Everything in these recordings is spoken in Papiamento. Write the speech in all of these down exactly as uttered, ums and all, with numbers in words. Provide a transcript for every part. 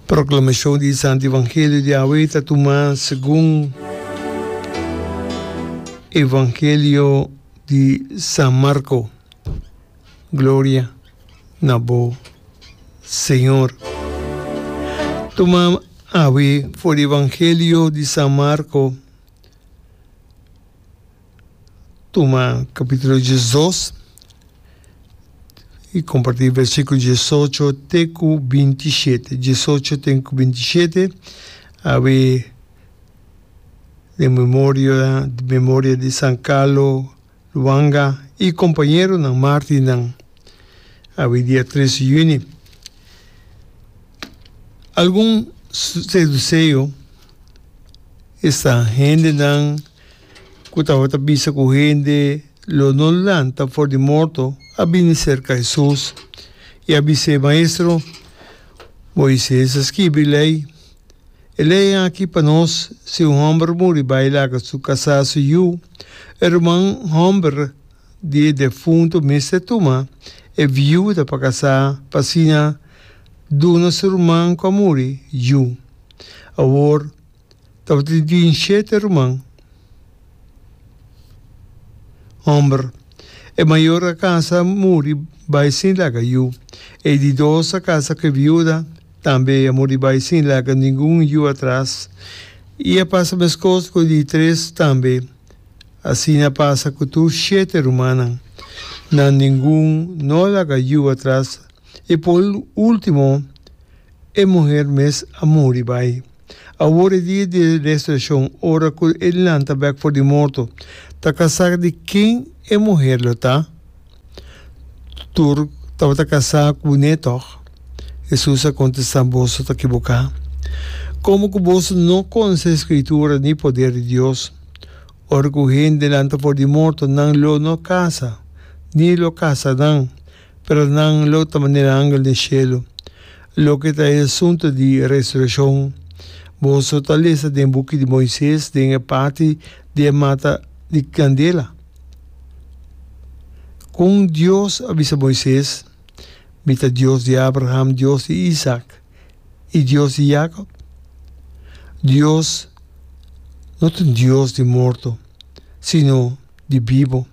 Proklamashon di Santu Evangelio di awe ta tuma segun Evangelio di San Marko. Gloria na bo, Señor. Tuma awe for di Evangelio di San Marko. Tuma capítulo diesdos y compartí versículo diesocho te cu bintishete. Diesocho te cu bintishete, awe den memoria, memoria di San Carlo Lwanga y compañeronan mártirnan, awe dia tres di juni. Algun seduceo, esta hendenan ku tabata bisa ku hende lo no lanta for di morto, a bini serka Hesus i a bis'é, Maestro, Moises a skibi lei. E lei aki pa nos, si un hòmber muri bai laga su kasá su yu, e ruman hòmber di e defuntu mester tuma e viuda pa kasá pa asina duna su ruman ku a muri yu. Awor, Tabatin tin shete ruman homber. E mayor a casa muri bai sin laga yu. E di dos a casa cu e viuda, tambe a muri bai sin laga ningun yu atras. I a pasa mescos cu e di tres tambe. Asina a pasa cu tur shete rumannan. Nan ningun no a laga yu atras. I por ultimo e muher mes a muri bai. Awor e dia di resurreccion, ora cu e lanta bek for di morto, ta casá di ken e muher lo ta? Tur tabata casá cu ne toch? Jesus a contestá, Boso ta kibocá, como cu boso no conoce Scritura ni poder di Dios. Ora cu hende lanta for di morto, nan lo no casa, ni lo casa nan, pero nan lo ta manera angel den shelu. Loke ta e asuntu di resurekshon, boso ta lesa den buki di Moises den e parti di e mata di kandela, kon Dios a bisa Moises, Mi ta Dios di Abraham, Dios di Isak i Dios di Yakob? Dios no ta un Dios di morto, sino di bibu.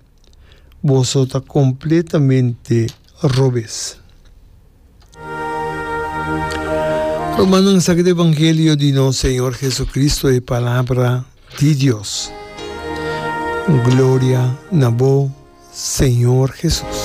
Boso ta kompletamente robes. Rumannan, esaki ta evangelio di nos Señor Jesucristo, e palabra di Dios. Gloria na bo, Señor Jesus.